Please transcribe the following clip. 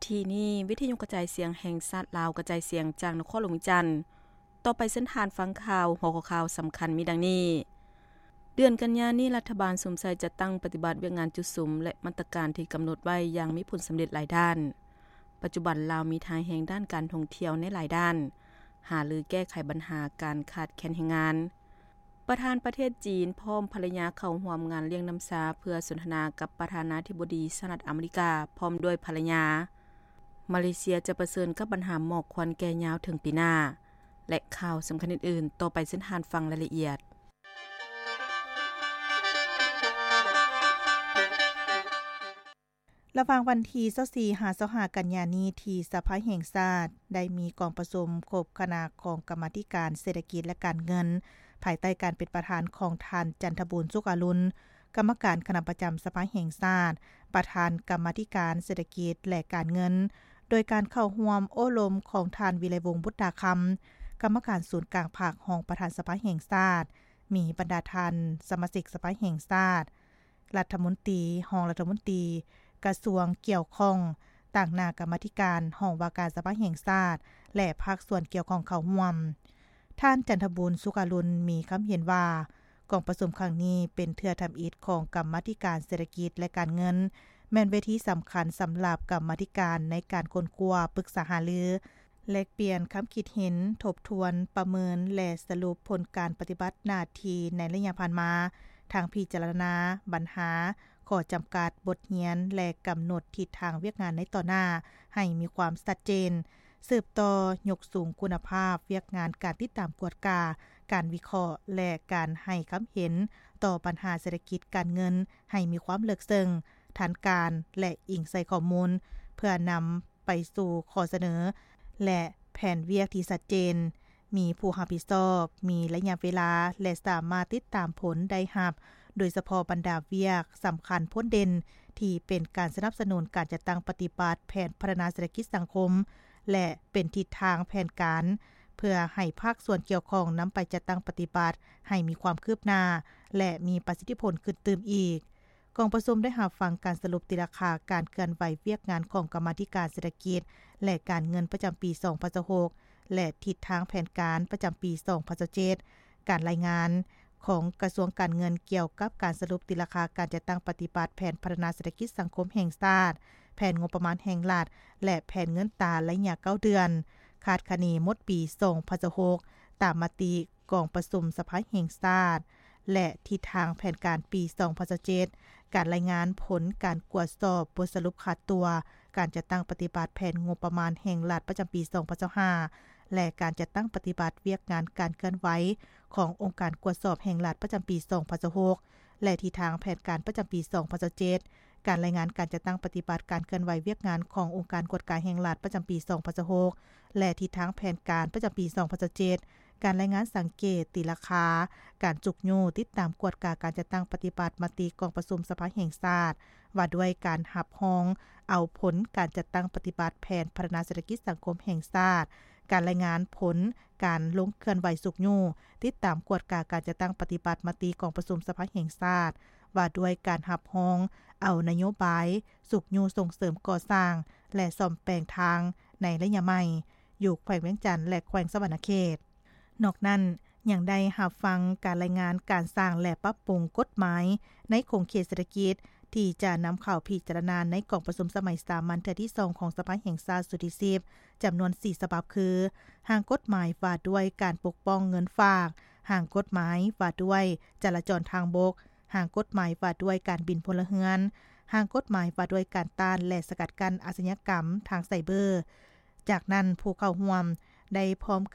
ທີ່ນີ້ ວິທະຍຸກະຈາຍສຽງແຫ່ງຊາດລາວ ກະຈາຍສຽງຈາກນະຄອນຫຼວງວຽງຈັນ. ຕໍ່ໄປເຊີນທ່ານຟັງຂ່າວ. ຫົວຂໍ້ຂ່າວສຳຄັນມີດັ່ງນີ້: ເດືອນກັນຍານີ້ ລັດຖະບານສຸມໃສ່ຈັດຕັ້ງປະຕິບັດວຽກງານຈຸດສຸມ ແລະ ມາດຕະການທີ່ກຳນົດໄວ້ຢ່າງມີຜົນສຳເລັດຫຼາຍດ້ານ. ປັດຈຸບັນລາວມີທ່າແຮງດ້ານການທ່ອງທ່ຽວໃນຫຼາຍດ້ານ, ຫາລືແກ້ໄຂບັນຫາການຂາດແຄນແຮງງານ. ປະທານປະເທດຈີນພ້ອມພັນລະຍາເຂົ້າຮ່ວມງານລ້ຽງນ້ຳຊາ ເພື່ອສົນທະນາກັບປະທານາທິບໍດີສະຫະລັດອາເມລິກາ ພ້ອມດ້ວຍພັນລະຍາ. ມາເລເຊຍຈະປະເຊີນກັບບັນຫາໝອກຄວັນແກ່ຍາວເຖິງປີໜ້າ ແລະ ຂ່າວສຳຄັນອື່ນໆ. ຕໍ່ໄປເຊີນທ່ານຟັງລາຍລະອຽດ. ລະຫວ່າງວັນທີຊາວສີ່ ຫາ ຊາວຫ້າ ກັນຍານີ້ ທີ່ສະພາແຫ່ງຊາດໄດ້ມີກອງປະຊຸມຄົບຄະນະຂອງກຳມາທິການເສດຖະກິດ ແລະ ການເງິນ ພາຍໃຕ້ການເປັນປະທານຂອງທ່ານ ຈັນທະບູນ ສຸກອາລຸນ ກຳມະການຄະນະປະຈຳສະພາແຫ່ງຊາດ, ປະທານກຳມາທິການເສດຖະກິດ ແລະ ການເງິນ, ໂດຍການເຂົ້າຮ່ວມໂອ້ລົມຂອງທ່ານ ວິໄລວົງ ບຸດຕາຄຳ ກຳມະການສູນກາງພັກ, ຮອງປະທານສະພາແຫ່ງຊາດ, ມີບັນດາທ່ານສະມາຊິກສະພາແຫ່ງຊາດ, ລັດຖະມົນຕີ, ຮອງລັດຖະມົນຕີ, ກະຊວງກ່ຽວຂ້ອງ, ຕາງໜ້າກຳມາທິການ, ຫ້ອງວ່າການສະພາແຫ່ງຊາດ ແລະ ພາກສ່ວນກ່ຽວຂ້ອງເຂົ້າຮ່ວມ. ທ່ານ ຈັນທະບູນ ສຸກອາລຸນ ມີຄຳເຫັນວ່າ ກອງປະຊຸມຄັ້ງນີ້ເປັນເທື່ອທຳອິດຂອງກຳມາທິການເສດຖະກິດ ແລະ ການເງິນ, ແມ່ນເວທີສຳຄັນສຳລັບກຳມາທິການໃນການຄົ້ນຄວ້າ, ປຶກສາຫາລື, ແລກປ່ຽນຄຳຄິດເຫັນ, ທົບທວນ, ປະເມີນ ແລະ ສະຫຼຸບຜົນການປະຕິບັດໜ້າທີ່ໃນໄລຍະຜ່ານມາ, ທັງພິຈາລະນາບັນຫາ, ຂໍ້ຈຳກັດ, ບົດຮຽນ ແລະ ກຳນົດທິດທາງວຽກງານໃນຕໍ່ໜ້າໃຫ້ມີຄວາມຊັດເຈນ, ສືບຕໍ່ຍົກສູງຄຸນນະພາບວຽກງານການຕິດຕາມກວດກາ, ການວິເຄາະ ແລະ ການໃຫ້ຄຳເຫັນຕໍ່ບັນຫາເສດຖະກິດການເງິນໃຫ້ມີຄວາມເລິກເຊິ່ງ, ທັນການ ແລະ ອີງໃສ່ຂໍ້ມູນ ເພື່ອນຳ ໄປສູ່ຂໍ້ສະເໜີ ແລະ ແຜນວຽກທີ່ຊັດເຈນ, ມີຜູ້ຮັບຜິດຊອບ, ມີໄລຍະເວລາ ແລະ ສາມາດຕິດຕາມຜົນໄດ້ຮັບ, ໂດຍສະເພາະບັນດາວຽກສຳຄັນພົ້ນເດັ່ນ ທີ່ເປັນການສະໜັບສະໜູນການຈັດຕັ້ງປະຕິບັດແຜນພັດທະນາເສດຖະກິດສັງຄົມ ແລະ ເປັນທິດທາງແຜນການ ເພື່ອໃຫ້ພາກສ່ວນກ່ຽວຂ້ອງນຳໄປຈັດຕັ້ງປະຕິບັດໃຫ້ມີຄວາມຄືບໜ້າ ແລະ ມີປະສິດທິຜົນຂຶ້ນຕື່ມອີກ. ກອງປະຊຸມໄດ້ຮັບຟັງການສະຫຼຸບຕີລາຄາການເຄື່ອນໄຫວວຽກງານຂອງກຳມາທິການເສດຖະກິດ ແລະ ການເງິນປະຈຳປີສອງພັນຊາວຫົກ ແລະ ທິດທາງແຜນການປະຈຳປີສອງພັນຊາວເຈັດ, ການລາຍງານຂອງກະຊວງການເງິນກ່ຽວກັບການສະຫຼຸບຕີລາຄາການຈັດຕັ້ງປະຕິບັດແຜນພັດທະນາເສດຖະກິດສັງຄົມແຫ່ງຊາດ, ແຜນງົບປະມານແຫ່ງລັດ ແລະ ແຜນເງິນຕາໄລຍະເກົ້າເດືອນ, ຄາດຄະເນໝົດປີສອງພັນຊາວຫົກ ຕາມມະຕິ ກອງປະຊຸມສະພາແຫ່ງຊາດ ແລະ ທິດທາງແຜນການປີສອງພັນຊາວເຈັດ, ການລາຍງານຜົນການກວດສອບບົດສະຫຼຸບຂາດຕົວການຈັດຕັ້ງປະຕິບັດແຜນງົບປະມານແຫ່ງລັດປະຈຳປີສອງພັນຊາວຫ້າ ແລະ ການຈັດຕັ້ງປະຕິບັດວຽກງານການເຄື່ອນໄຫວຂອງອົງການກວດສອບແຫ່ງລັດປະຈຳປີສອງພັນຊາວຫົກ ແລະ ທິດທາງແຜນການປະຈຳປີສອງພັນຊາວເຈັດ, ການລາຍງານການຈັດຕັ້ງປະຕິບັດການເຄື່ອນໄຫວວຽກງານຂອງອົງການກວດກາແຫ່ງລັດປະຈຳປີສອງພັນຊາວຫົກ ແລະ ທິດທາງແຜນການປະຈຳປີສອງພັນຊາວເຈັດ, ການລາຍງານສັງເກດຕີລາຄາ, ການຈຸກຍູ້ຕິດຕາມກວດກາການຈັດຕັ້ງປະຕິບັດມະຕິກອງປະຊຸມສະພາແຫ່ງຊາດ ວ່າດ້ວຍການຮັບຮອງເອົາຜົນການຈັດຕັ້ງປະຕິບັດແຜນພັດທະນາເສດຖະກິດສັງຄົມແຫ່ງຊາດ, ການລາຍງານຜົນການລົງເຄື່ອນໄຫວຊຸກຍູ້ຕິດຕາມກວດກາການຈັດຕັ້ງປະຕິບັດມະຕິກອງປະຊຸມສະພາແຫ່ງຊາດ ວ່າດ້ວຍການຮັບຮອງເອົານະໂຍບາຍຊຸກຍູ້ສົ່ງເສີມກໍ່ສ້າງ ແລະ ສ້ອມແປງທາງໃນໄລຍະໃໝ່ ຢູ່ແຂວງວຽງຈັນ ແລະ ແຂວງສະຫວັນນະເຂດ. ນອກນັ້ນ ຍັງໄດ້ຮັບຟັງການລາຍງານການສ້າງ ແລະ ປັບປຸງກົດໝາຍໃນຂົງເຂດເສດຖະກິດ ທີ່ຈະນຳເຂົ້າພິຈາລະນາໃນກອງປະຊຸມສະໄໝສາມັນເທື່ອທີສອງຂອງສະພາແຫ່ງຊາດຊຸດທີສິບ ຈຳນວນສີ່ສະບັບຄື ຮ່າງກົດໝາຍວ່າດ້ວຍການປົກປ້ອງເງິນຝາກ, ຮ່າງກົດໝາຍວ່າດ້ວຍຈະລາຈອນທາງບົກ, ຮ່າງກົດໝາຍວ່າດ້ວຍການບິນພົນລະເຮືອນ, ຮ່າງກົດໝາຍວ່າດ້ວຍການຕ້ານ ແລະ ສະກັດກັ້ນອາຊະຍາກຳທາງໄຊເບີ. ຈາກນັ້ນ ຜູ້ເຂົ້າຮ່ວມໄດ້ພ້ອມກັນ